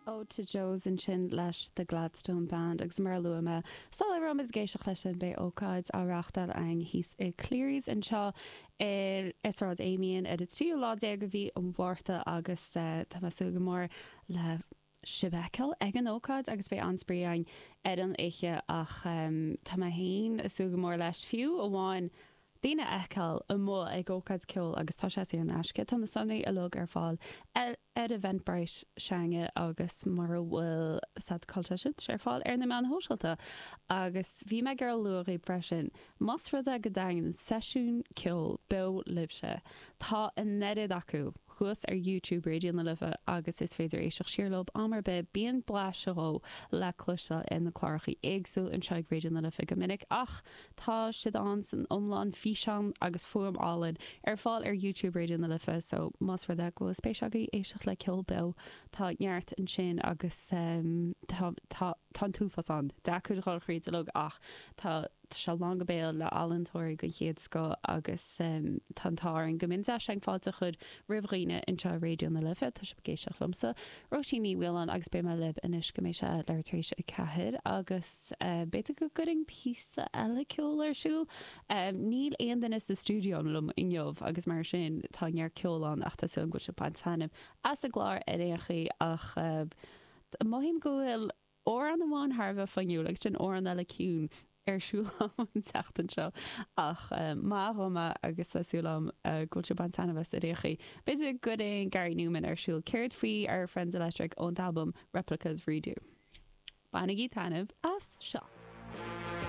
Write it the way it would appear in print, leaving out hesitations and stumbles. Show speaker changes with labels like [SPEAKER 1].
[SPEAKER 1] Ode to Joes ansin leis The Gladstone Band agus mar a luaigh mé sula raibh muid ag éisteacht leis sin beidh ócáid á reáchtáil againn thíos i Cleary's anseo ar Sráid Amiens ar an tríú lá déag de mhí an Mhárta agus tá mé ag súil go mór le sibh a fheiceáil ag an ócáid agus beidh an-spraoi againn ar an oíche ach tá mé féin ag súil go mór leis fiú amháin daoine a fheiceáil amuigh ag ócáid ceoil agus tá sé saor in aisce. Tá na sonraí uilig ar fáil ar Eventbrite s'againne agus mura bhfuil siad cá bhfuil sé sin, tá sé ar fáil ar na meáin shóisialta. Agus bhí mé ag iarraidh a lua dhaoibh freisin, más rud é go dtaitníonn seisiún ceoil beo libhse, tá an oiread acu thuas ar YouTube Raidió na Life agus is féidir éisteacht siar leo am ar bith. Bíonn blaiseadh dhó le cloisteáil ar na clárachaí éagsúil anseo ag Raidió na Life go minic ach tá siad ann san iomlán, físeán agus fuaim álainn, ar fáil ar YouTube Raidió na Life so más rud é go bhfuil spéis agaibh éisteacht le ceol beo tá neart ansin agus tá tá tá an t-uafás ann. Deacair dhul thríd uilig ach tá Tá sé lán go béal le ealaíontóirí den chéad scoth agus tá an t-ádh orainn go mbíonn deis againn fáilte a chur roimh dhaoine anseo i Raidió na Life. Tá sibh ag éisteacht liomsa, Róisín Ní Mhaoláin agus beidh mé libh anois go mbeidh sé leathuair tar éis 4 agus b'fhéidir go gcuirfinn píosa eile ceoil ar siúl. Níl aon duine sa stiúideo liom inniu agus mar sin tá neart ceoil ann ach tá súil agam go bhfuil sibh ag baint taitneamh as an gclár ar aon chaoi ach mothaím go bhfuil amhrán amháin thar a bheith fuinniúil agus sin amhrán eile ciúin ar siúl agam an tseachtain seo ach maith dhom é agus tá súil agam go bhfuil sibh ag baint taitneamh as ar aon chaoi. B'fhéidir go gcuirfinn Gary Numan ar siúl. Céard faoi Our Friends Electric ón t-albam Replicas Redo? Bainigí taitneamh as seo!